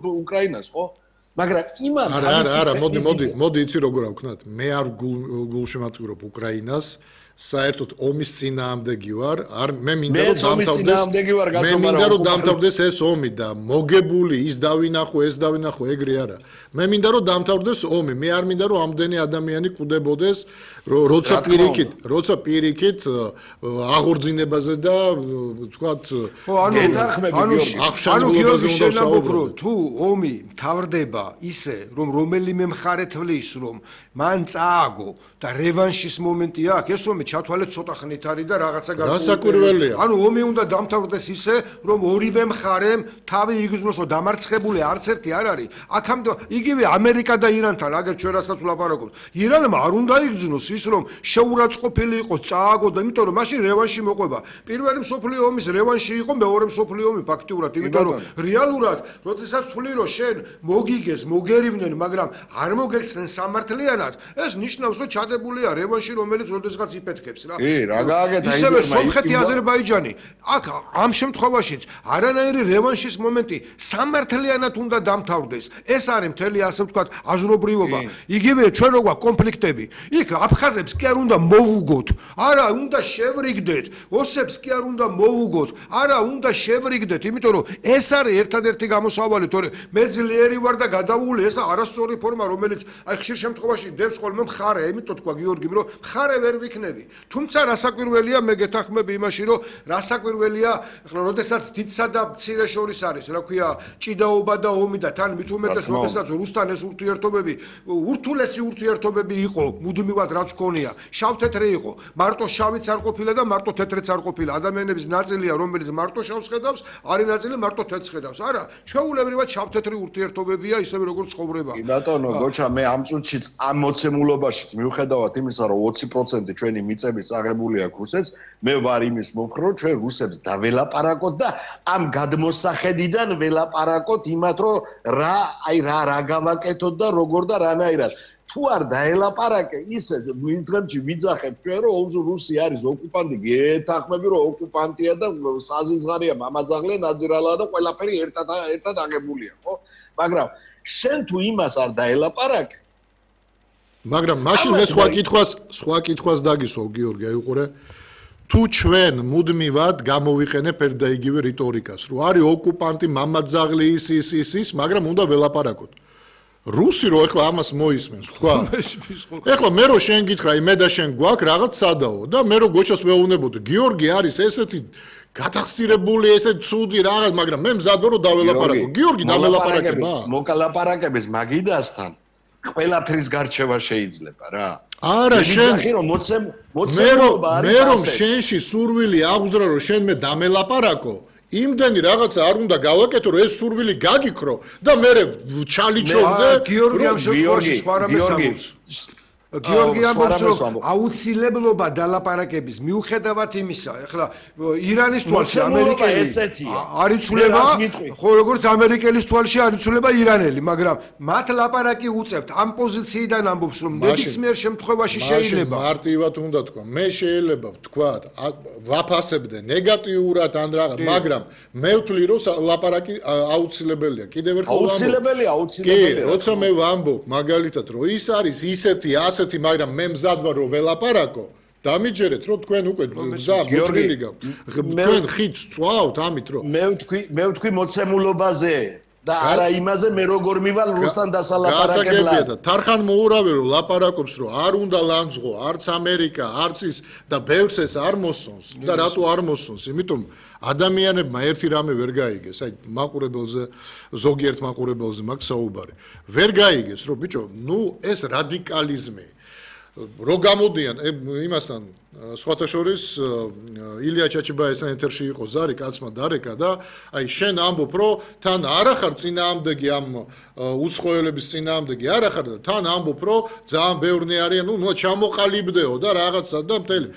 უკრაინას, ხო? მაგრამ იმან არა, მოდი იცი როგორ ავქნათ. მე არ გულშემატკივრობ უკრაინას. საერთოდ ომის წინააღმდეგი ვარ. მე მინდა რომ დამთავრდეს ეს ომი და მოგებული ის დავინახო, ეს დავინახო, ეგრე არა. მე მინდა რომ დამთავრდეს ომი. მე არ მინდა რომ ამდენი ადამიანი კუდებოდეს, როცა პირიქით აღორძინებაზე და თქვათ გიორგი შენამბობრო თუ ომი მთავრდება ისე რომ რომელიმე მხარე თვლის რომ მან წააგო და რევანშის მომენტი აქვს ეს ომი ჩათვალეთ ცოტა ხნით არის და რაღაცა გასაკვირველია. ანუ ომი უნდა დამთავრდეს ისე რომ ორივე მხარემ თავი იგრძნოსო დამარცხებული არც ერთი არ არის აქამდე იგივე ამერიკა და ირანთან აგერ ჩვენ რასაც ვლაპარაკობთ ირანმა არ უნდა იგრძნოს ის რომ შეურაცხყოფილი იყოს წააგო და იმიტომ რომ მაშინ რევანში მოყვება პირველი მსოფლიო ომის რევანში იყო მეორე მსოფლიო ომი ფაქტიურად იმიტომ რომ რეალურად როდესაც ვთვლი რომ შენ მოგიგეს მოგერივნენ მაგრამ არ მოგექცნენ სამართლიანად ეს ნიშნავს რომ ჩადებულია რევანში რომელიც როდესღაც იფეთქებს რა რა გააკეთა ისევე სომხეთი აზერბაიჯანი აქ ამ შემთხვევაშიც არანაირი რევანშის მომენტი სამართლიანად უნდა დამთავრდეს ეს არის მთელი ასე ვთქვათ აზრობრივობა იგივე ჩვენ როგორ კონფლიქტები იქ აფხაზებს კი არ უნდა მოვუგოთ არა უნდა შევრიგდეთ ოსებს კი არ უნდა მოვუგოთ არა უნდა შევრიგდეთ იმიტომ რომ ეს არის ერთადერთი გამოსავალი თორე მე ძლიერი ვარ და გადავული ეს არასწორი ფორმა რომელიც აი ხშირ შემთხვევაში დევს ხოლმე მხარე იმიტომ თქვა გიორგი რომ მხარე ვერ ვიქნები თუმცა რასაკვირველია მე გეთანხმები იმაში რომ რასაკვირველია ახლა როდესაც დიდსა და მცირე შორის არის რა ქვია ჭიდაობა და ომი და თან მით უმეტეს როდესაც რუსთან ეს ურთიერთობები ურთულესი ურთიერთობები იყო მუდმივად რაც ქონია შავ-თეთრი იყო მარტო შავიც არ ყოფილა და მარტო თეთრიც არ ყოფილა ადამიანების ნაწილია რომელიც მარტო შავს ხედავს არის ნაწილი მარტო თეთრს ხედავს არა ჩვეულებრივად შავ-თეთრი ურთიერთობებია ისევე როგორც ცხოვრება კი ბატონო გოჩა მე ამ წუთშიც ამ მოცემულობაშიც მიუხედავად იმისა რომ 20% ჩვენი მიწების აღებული აქვს რუსეთს მე ვარ იმის მომხრე რომ ჩვენ რუსებს დაველაპარაკოთ და ამ გადმოსახედიდან ველაპარაკოთ იმათ რომ რა გავაკეთოთ და როგორ და რანაირად თუ არ დაელაპარაკე ისე მიდღემში ვიძახებ ჩვენ რომ რუსი არის ოკუპანტი გეთანხმები რომ ოკუპანტია და საზიზღარია მამაძაღლე ნაძირალა და ყველაფერი ერთად აღებულია ხო მაგრამ შენ თუ იმას არ დაელაპარაკე მაგრამ მაშინ მე სხვა კითხვას დაგისვავ გიორგი აი უყურე თუ ჩვენ მუდმივად გამოვიყენებ ერთ და იგივე რიტორიკას რომ არის ოკუპანტი მამაძაღლე ის მაგრამ უნდა ველაპარაკოთ რუსი რო ეხლა ამას მოისმენს თქვა ეხლა მე რო შენ გითხრა მე და შენ გვაქვს რაღაც სადაო და მე რო გოჩას ვეუბნებოდი გიორგი არის ესეთი გათახსირებული ესეთ ცუდი რაღაც მაგრამ მე მზად ვარ რომ დაველაპარაკო გიორგი დაველაპარაკება მოკალაპარაკების მაგიდასთან ყველაფრის გარჩევა შეიძლება რა არა შენ მე რომ შენში სურვილი აღუძრა რომ შენ მე დამელაპარაკო იმდენი რაღაცა არ უნდა გავაკეთო რომ ეს სურვილი გაგიქრო და მე ჩალიჩობდე გიორგი ამ შემთხვევაში სხვა რამეს ამბობს გიორგი ამბობს რომ აუცილებლობა დალაპარაკების მიუხედავად იმისა ახლა ირანის თვალში ამერიკელი არ იცვლება ხო როგორც ამერიკელის თვალში არ იცვლება ირანელი მაგრამ მათ ლაპარაკი უწევთ ამ პოზიციიდან ამბობს რომ ნებისმიერ შემთხვევაში შეიძლება მარტივად უნდა თქვა მე შეიძლება ვთქვა ვაფასებდე ნეგატიურად ან რაღაც მაგრამ მე ვთვლი რომ ლაპარაკი აუცილებელია კიდევ ერთხელ აუცილებელია კი როცა მე ვამბობ მაგალითად რომ ის არის ისეთი მაგრამ მე მზად ვარ რომ ველაპარაკო დამიჯერეთ რომ თქვენ უკვე გზა მოჭრილი გაქვთ თქვენ ხიდს წვავთ ამით რომ მე ვთქვი მოცემულობაზე და არა იმაზე მე როგორ მივალ რუსთან დასალაპარაკებლად თარხან მოურავე რომ ლაპარაკობს რომ არ უნდა ლანძღო არც ამერიკა არც ის და ბევრს ეს არ მოსწონს და რატო არ მოსწონს იმიტომ ადამიანებმა ერთი რამე ვერ გაიგეს აი მაყურებელზე ზოგიერთ მაყურებელზე მაქვს საუბარი ვერ გაიგეს რომ ბიჭო ნუ ეს რადიკალიზმი რო გამოდიან იმასთან სხვათა შორის ილია ჩაჩიბაესთან ეთერში იყო ზარი კაცმა დარეკა და აი შენ ამბობ რომ თან არ ახარ წინააღმდეგი ამ უცხოელების წინააღმდეგი არ ახარ და თან ამბობ რომ ძალიან ბევრნი არიან ნუ ჩამოყალიბდეო და რაღაცა და მთელი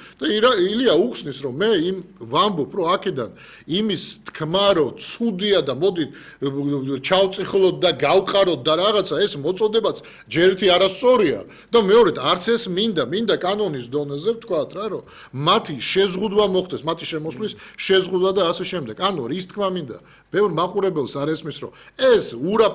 და ილია უხსნის რომ მე იმ ვამბობ რომ აქედან იმის თქმა რომ ცუდია და მოდი ჩავწიხლოთ და გავყაროთ და რაღაცა ეს მოწოდებაც ჯერ ერთი არასწორია და მეორედ არც ეს მინდა კანონის დონეზე ვთქვათ რა არა, რომ მათი შეზღუდვა მოხდეს, მათი შემოსვლის შეზღუდვა და ასე შემდეგ. ანუ რის თქმა მინდა, ბევრ მაყურებელს არ ესმის, რომ ეს ურა